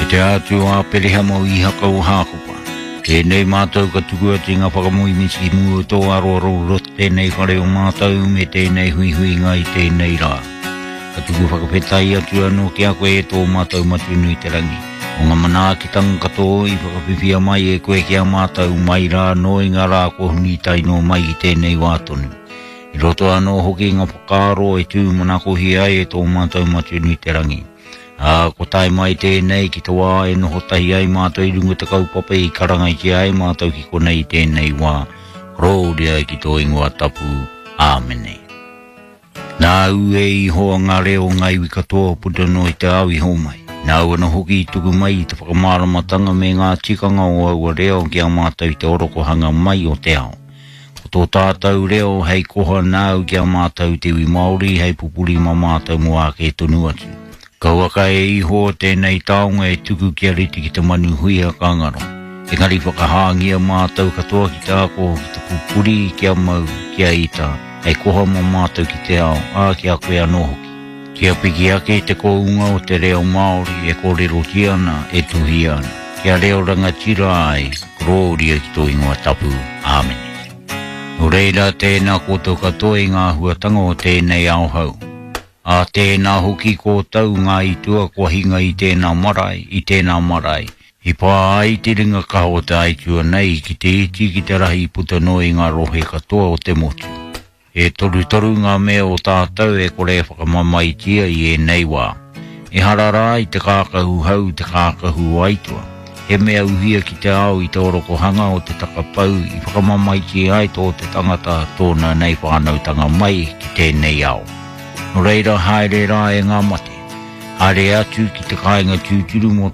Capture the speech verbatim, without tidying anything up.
E te Atua o Aperehama o Ihaka o Hākopa, tēnei mātou ka tuku atu i ngā whakamoemiti ki mua o tō aroaro i roto tēnei whare o mātou me tēnei huihuinga i tēnei rā. Ka tuku whakawhetai atu anō ki a koe e tō mātou Matua nui te rangi, o ngā manaakitanga katoa i whakawhiwhia mai e koe ki a mātou mai rā anō i ngā rā kua huri tae noa mai ki tēnei wā tonu. I roto anō hoki ngā whakaaro e tūmanakohia ai e tō mātou Matua nui te rangi. Ā, ko tae mai tēnei ki te wā e noho tahi ai mātou i runga te kaupapa i karangaitia ai mātou ki konei i tēnei wā, korōria ki tō ingoa tapu. Āmene. Nāu e Ihowa ngā reo o ngā iwi katoa puta noa i te ao i homai. Nāu anō hoki i tuku mai i te whakamāramatanga me ngā tikanga o aua reo ki a mātou i te orokohanga mai o te ao. Ko tō tātou reo hei koha nāu ki a mātou te iwi Māori hei pupuri mā mātou mō āke tonu atu. Kauaka e Ihowa tēnei taonga e tuku kia rite ki te manu huia ka ngaro. Engari whakahāngia mātou katoa ki te ako, ki te pupuri, kia mau, kia ita, hei koha mā mātou ki te ao, ā, ki a koe anō hoki. Kia piki ake te kounga o te reo Māori e kōrerotia ana, e tuhia ana. Kia reo rangatira ai, korōria ki tō ingoa tapu. Āmene. Nō reira, tēnā koutou katoa i ngā āhuatanga o tēnei ao hou. Ā tēnā hoki koutou ngā itua kua hinga i tēnā marae, i tēnā marae. I pā ai te ringa kaha o te aitua nei ki te iti ki te rahi puta noa i ngā rohe katoa o te motu. E torutoru ngā mea o tātou e kore e whakamamaetia i ēnei wā. Ehara rā i te kākahu hau te kākahu o aitua. He mea uhia ki te ao i te orokohanga o te takapau i whakamamaetia ai tō te tangata tōna nei whānautanga mai ki tēnei ao. Nō reira haere rā e ngā mate. Haere atu ki te kāinga tūturu mō